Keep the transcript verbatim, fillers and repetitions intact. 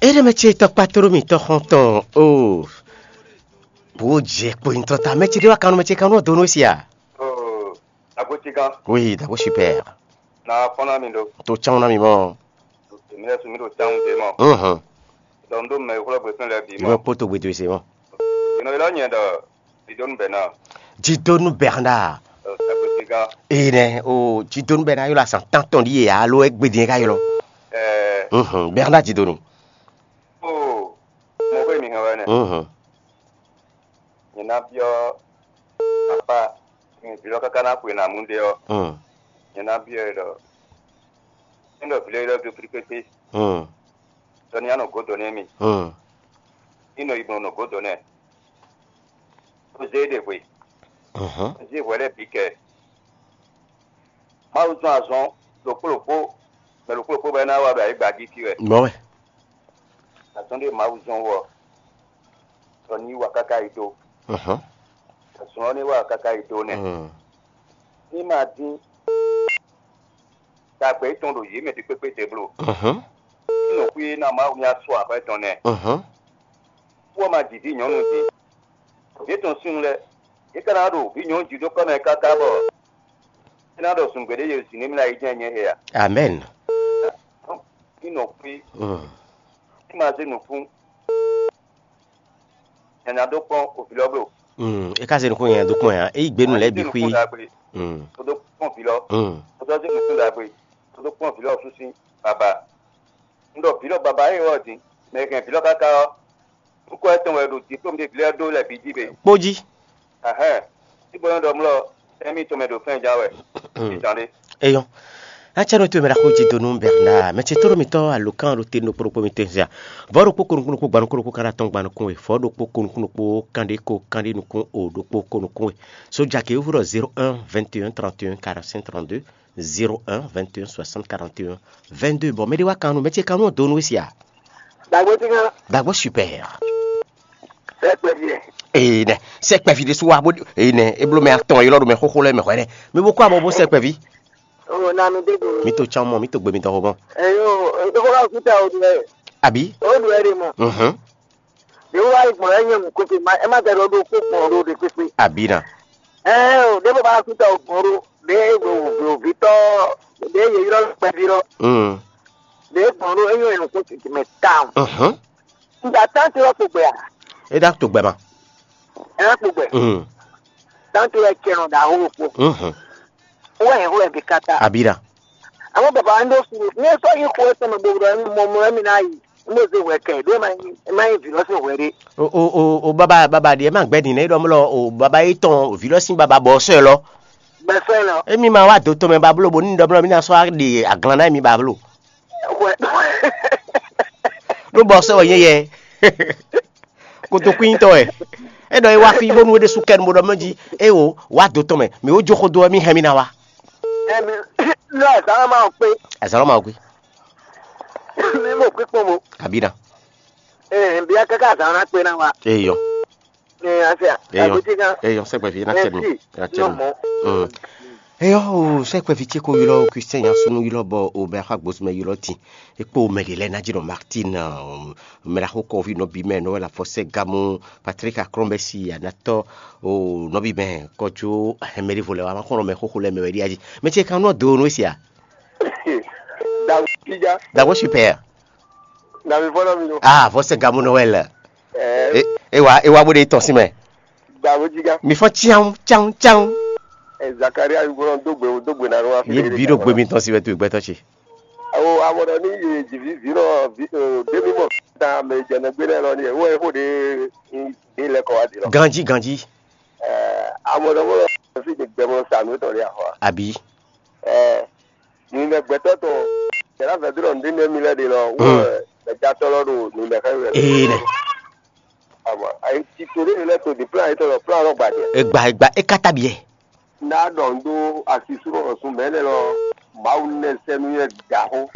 Éɖé mɛ ce tɔkpá tló mì tɔxɔntɔn o. Bó jɛ kpo nyitɔ ta mɛ ce ɖé wá kanú mɛ ce kanú ɔ́ dó nú si a? Oh, Agotigan. Oui, d'abord super. Na kpɔ́n ná mi ɖo. To cán ná mi mɔ. Mi lɛ́ su mi ɖo cán ɖé mɔ. Mhm. Dɔn ɖó mɛ xwlɔ gbɛtɔn lɛ bi mɔ. Yɔ kpóto gbɛtɔn se mɔ. Yɔ lɔ nyɛ ɖɔ Jidonu Bernard. Jidonu Bernard. Agotigan. Ee nɛ o Jidonu Bernard yɔ la san tantɔn ɖi ye alo e gbedin ka yɔ. Eh. Mhm. Bernard Jidonu. Oh, mo ko mi hɛn wɛ nɛ. Mhm. Nyɛ ná byɔ́ apá mi vǐ lɔ káká ná xwe nǎ mú ɖé ɔ́, Mm. nyɛ ná byɔ́ ɛ ɖɔ é ɖɔ vǐ lɔ dó flikpékpé, Mm. ɖɔ ní anɔ gǒ dó nú émí, Mm. ní nɔ yi gbɔn nɔ gǒ dó nɛ. Xwezé ɖe hwe, Mhm. xwezé hwɛ lɛ́ɛ bǐ kɛ. Mawu zɔn azɔn ɖokpó ɖokpó, mɛ ɖokpó ɖokpó bɔ é ná wa ɖo ayǐ gbají fí wɛ. Mɔ̌ wɛ. Azɔn ɖé Mawu zɔn wɔ, ɖɔ ní wa káká yi dó. Mhm. Azɔn ɔ́ ní wa káká yi dó nɛ. Mm. Ní ma dín ɖagbe tɔn ɖo yě mɛ ɖi kpékpé te bló. Mhm. Ní nɔ̌xwí ná Mawu ní asɔ akwɛ́ tɔn nɛ. Mhm. Kú ɔ́ ma ji vǐ nyɔ̌nu din. Vǐ tɔn sín lɛ́ɛ, yě ka ná ɖo vǐ nyɔ̌nu jí dó kɔ́ mɛ káká bɔ é ná ɖɔ zungbe ɖé yě zǐn nú mì ná yi jɛ́n nyɛ he a? Amɛn. Ní nɔ̌xwí, Mm. ní ma zé nǔkún, nyanya dó kpɔ́n òvǐ lɔ bló. Mm. É ka zé nukún nyanya dó kpɔ́n nya. É yí gbe nú lɛ́ɛ bǐ xwí. Nukún ɖagbe, Mm. Kó dó kpɔ́n vǐ lɔ, Mm. Kó dó zé nukún ɖagbe, kó dó kpɔ́n vǐ lɔ sú sín baba. Un ɖɔ vǐ lɔ baba é wɔ din, mɛ e hɛn vǐ lɔ káká ɔ́, nukún ɛtɔn wɛ ɖo diplôme ɖé vǐ lɛ́ɛ ɖó lɛ́ɛ bǐ jí be. Kpó jí. Ahɛn, sí bɔ nyɔ́ ɖɔ mlɔ ɛmí tɔn mɛ ɖo fɛn ja wɛ. Itan ɖé. Eyɔn. Atsɛnɔ to mɛ ɖaxó jí donu Bernard mɛ ce toro mitɔ alukán ɖo te nokpokpo mi te zia. Vɔ ɖokpó ko nukún ɖokpó gba nukún ɖokpó kan atɔn gba nukún we. Vɔ ɖokpó ko nukún ɖokpó kan ɖé ko kan ɖé nukún o ɖokpó ko nukún we. Sodza ke wúvú ɖɔ zéro un vingt et un trente et un quarante-cinq trente-deux, zéro un vingt et un soixante quarante et un vingt-deux. Bɔn mɛ ɖé wá kan nu mɛ ce kan nu donu sia. Dagbo ti kan. Dagbo super. Sɛ kpɛvi yɛ. Ee nɛ sɛ kpɛvi ɖé su wa bó ee nɛ eblo mɛ atɔn yɔrɔ ɖo mɛ xóxó lɛ mɛ hwɛ nɛ mi bó kó abɔ bó sɛ kpɛvi. O na mi dé do. Mi to tsan mɔ mi to gbe mi tɔn xo mɔ. Eyo, eyo ko ka kuta o dɛ. Abi. O dɛ de mɔ. Mhm. Ɖé wá yi gbɔn ɛ nyɛ mɔ kókó ma ɛ má tɛ ɖɔ ɖó kó gbɔn ɖó ɖe kpékpé. Abi na. Ɛ o ɖé bó bá kuta o gbɔn ɖó ɖé ɖo vitɔ ɖé yeyɔrɔ kpɛvi ɖɔ. Mm. Ɖé gbɔn ɖó ɛ nyɛ nɔ kó titi mɛ tawun. Mhm. Nda tánti wɛ kpo gbɛ a? E ɖa to gbɛ ma. Ɛ wɛ kpo gbɛ. Mm. Tánti wɛ cɛ nɔ da wo kpo. Mhm. Wɛ yɛ wɛ bi kata. Abi ɖa. Àmọ́ bàbá ń dó sùn ní ẹ sọ yín kó ẹ sọmọ gbogbo ẹ mọ mọ ẹ mi náà yìí ń bó ṣe wẹ̀ kẹ̀ dé máa ń vì lọ́sìn wẹ̀ dé. O o o o baba baba ɖiɛ ma gbɛ din ne ɖɔ mlɔ o baba yi tɔn vi lɔ sin baba bɔ sɔ lɔ. Gbẹ̀sẹ̀ lọ. Emi ma wa do tɔn mɛ ba blo bo ní ɖɔ mlɔ mi na sɔ ɖe aglan na mi ba blo. Wẹ̀. Ɖó bɔ sɔ wɛ nyɛ yɛ. Kotokwíntɔ wɛ. E ɖɔ e wá fí bónú é ɖésú kɛ nu bó ɖɔ mɛ jí. E o wá do tɔn mɛ mi ó jó xó dó wɛ mi hɛn mi ná wá. Emi lɔ azǎn ma kpé. Azǎn ma kpé. Mi mo kpé kpɔn mo. Àbí na. Ee bia kaka azǎn na kpé na wa. Eyɔ. Ee ase a. Eyɔ. Aguti kan. Eyɔ sɛgbɛ fi na kɛ nu. Merci. Na kɛ nu. Nɔmɔ. Mm. Eyɔ o sɛgbɛ fi ce ko ylɔ o Christian ya sunu ylɔ bɔ o bɛ xa gbosumɛ ylɔ tin. E kpo mɛ de lɛ na dzi nɔ Martin. Mɛ la xo kɔvi nɔbi mɛ nɔ wɛ la fɔ sɛ gamu Patrick Akrɔnbɛsi anatɔ o nɔbi mɛ kɔjo hɛmɛɖevo lɛ wa ma xɔnɔ mɛ xoxo lɛ mɛ wɛ ɖi aji mɛ ce kan nɔ do no sia. Dago tija. Dago super. Davi fɔlɔ mi lo. Ah vɔ sɛ gamu nɔ wɛ lɛ. Ɛɛ. E wa e wa bo de tɔn si mɛ. Dago tija. Mi fɔ tiaŋ tiaŋ tiaŋ. Ɛ Zakaria yugbɔnɔ dogbe o dogbe na ɖo wa. Ye bi ɖo gbe mi tɔn si wɛ to gbɛtɔ ce. Awo amɔɖɔ ní yě dzi vi vǐ nɔ dé mí mɔ ta mɛ jɛnɛ gbé nɛ lɔ ní wɔ é xó ɖé ní lɛ kɔ wá di lɔ. Ganji ganji. Amɔɖɔ mɔ lɔ fi de gbɛ mɔ sa nú tɔ ɖe axɔ. Abi. Ɛ ní mɛ gbɛtɔ tɔ yàrá fɛ dúró ní mí lɛ de lɔ wɔ mɛ jatɔ lɔ ɖo ní mɛ xɛ wɛ. Ee nɛ. Amɔ ayi ti to ɖé lɛ to di plan yìí tɔ lɔ plan lɔ gbadɛ. Egba egba ekata biɛ. N'a ɖɔ ŋɖó asisúnɔ ɔsùn mɛ nɛ lɔ Mawu nɛ sɛnu yɛ dǎxó.